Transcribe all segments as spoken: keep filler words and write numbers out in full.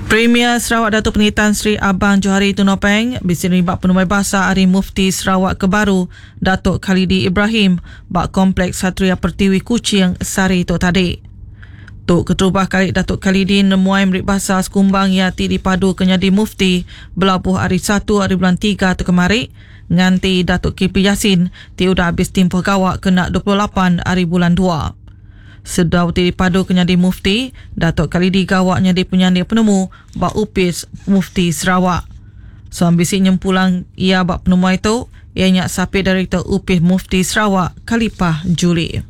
Premier Sarawak Datuk Patinggi Tan Sri Abang Johari Tun Openg bisi nerima penemuai basa ari Mufti Sarawak ke baru Datuk Khalidi Ibrahim ba Kompleks Satria Pertiwi Kuching sehari tu tadi. Tu keterubah kali Datuk Khalidi nemuai meri basa sekumbang iya ti dipadu ke nyadi Mufti belabuh ari satu ari bulan tiga tu kemari nganti Datuk Kipli Yassin ti udah habis timpuh gawa kena dua puluh lapan ari bulan dua. Sedau ti dipadu ke nyadi Mufti, Datuk Khalidi gawa nyadi penyanding penemu ba Upis Mufti Sarawak. So ambisi nyempulang ia ba penemuai tu, ia nya sapit Direktor Upis Mufti Sarawak Khalipah Juli.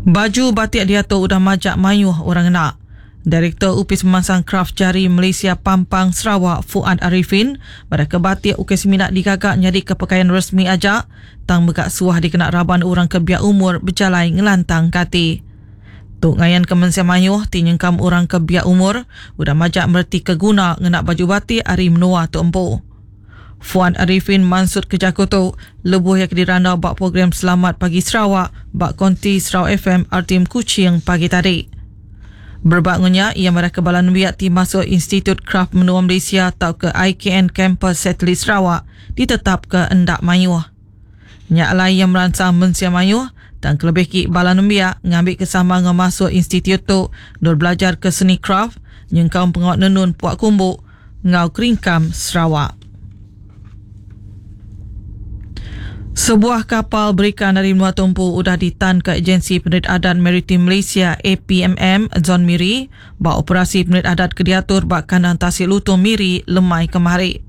Baju batik diatu udah majak mayuh orang ngena. Direktor Upis Pemansang Kraf Jari Malaysia Pampang Sarawak Fuad Arifin pada ke batik ukai semina digagak nyadi ke pakaian resmi aja tang megak suah dikena raban orang ke biak umur berjalai ngelantang kati. Tu ngayan ke mensia mayuh ti nyengkam orang ke biak umur udah majak mereti ke guna ngena baju batik ari menua tu empu. Fuad Arifin mansut ke jaku tu lebuh ia kedirandau bak program Selamat Pagi Sarawak bak Konti Sarawak F M R T M Kuching pagi tadi. Berbak ngunya, ia marah ke balan wiak ti masuk Institut Kraf Menua Malaysia atau ke I K N Kampus Satelit Sarawak ditetap ke endak mayuh. Nyak lai yang merangsang mensia mayuh dan kelebih ki balan nembiak ngambil kesama ngau masuk institut tu dor belajar ke seni kraf nyengkau pengawak nenun puak kumbuk ngau keringkam Sarawak. Sebuah kapal berikan dari Menua Tumpu udah ditan ke Agensi Penerit Adat Maritim Malaysia A P M M Zon Miri ba operasi penerit adat ke diatur ba kandang Tasik Lutung Miri lemai kemari.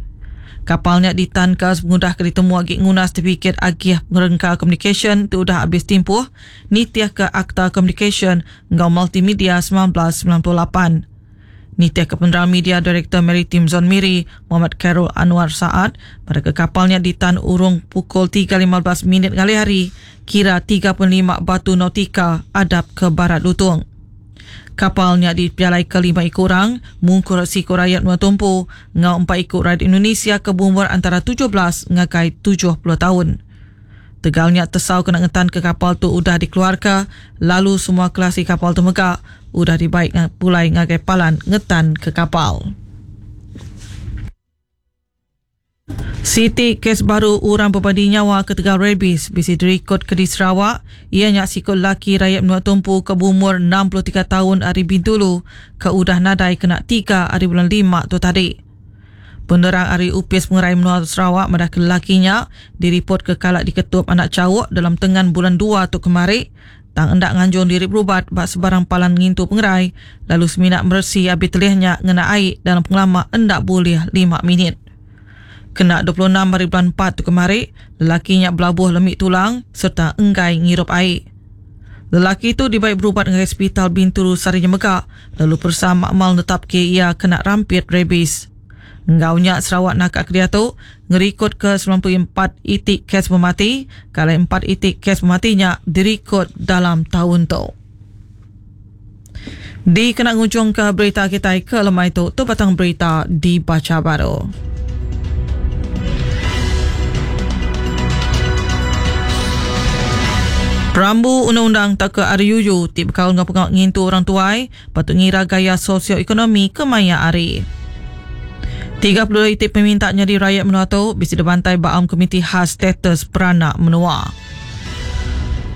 Kapalnya ditan ke sepengudah ke ditemu agi nguna sertifikat agih pengerengka komunikasyen tu udah habis timpuh nitiah ke Akta Komunikasyen ngau Multimedia sembilan belas sembilan puluh lapan. Nitiah ke penerang media Direktor Maritim Zon Miri Muhammad Khairul Anwar Saad pada ke kapalnya ditan urung pukul tiga lima belas minit ngalih hari kira tiga puluh lima batu nautika adap ke barat Lutung. Kapalnya dipialai ke lima ekor orang, mungkur siku rakyat Menua Tumpu, ngau empat ekor rakyat Indonesia ke berumur antara tujuh belas ngagai tujuh puluh tahun. Tegalnya tesau kena ngetan ke kapal tu udah dikeluarkan, lalu semua kelasi kapal tu megak udah dibaik pulai ngagai palan ngetan ke kapal. Siti kes baru orang berbadi nyawa ketegal rabies bisi dirikod ke di Sarawak. Ia nyak sikut laki rakyat Menua Tumpu ke berumur enam puluh tiga tahun ari Bintulu ke udah nadai kena tiga ari bulan lima tu tadi. Penerang ari Upis Pengerai Menua Sarawak madah ke lelakinya diripot ke kalak diketup anak cawuk dalam tengan bulan dua tu kemari tang endak nganjung diri berubat bak sebarang palan ngintu pengerai lalu seminak meresi abi telihnya ngena air dalam pengelama endak boleh lima minit. Kena dua puluh enam hari bulan empat tu kemari, lelakinya belabuh lemik tulang serta enggai ngirup air. Lelaki tu dibaik berubat dengan hospital Bintulu Sarinya Megak lalu persa makmal netap ke ia kena rampit rabies. Enggaunya Sarawak nakak kedia tu ngerikod ke sembilan puluh empat itik kes pemati, kalau empat itik kes pematinya dirikod dalam tahun tu. Di kena ngujung ke berita kita ke lemai tu, tu batang berita dibaca baru. Perambu undang-undang tak ke R U U ti bekal ngau pengawak ngintu orang tuai patut ngira gaya sosioekonomi kemaya ari. tiga puluh itik peminta nyadi rakyat menua tu bisi dibantai baam Komiti Khas Status Peranak Menua.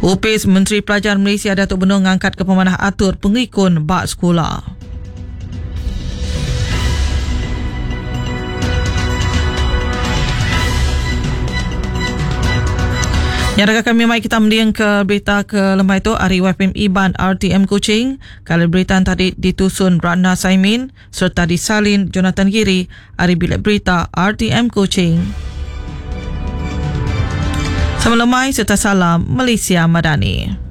Upis Menteri Pelajar Malaysia Datuk Benung ngangkat ke pemanah atur pengikun bak sekolah. Yang kami mai kita mending ke berita ke lemai tu hari Y P M Iban R T M Kuching. Kalau berita tadi ditusun Ratna Saimin serta disalin Jonathan Giri hari bilik berita R T M Kuching. Selamat lemai serta salam Malaysia Madani.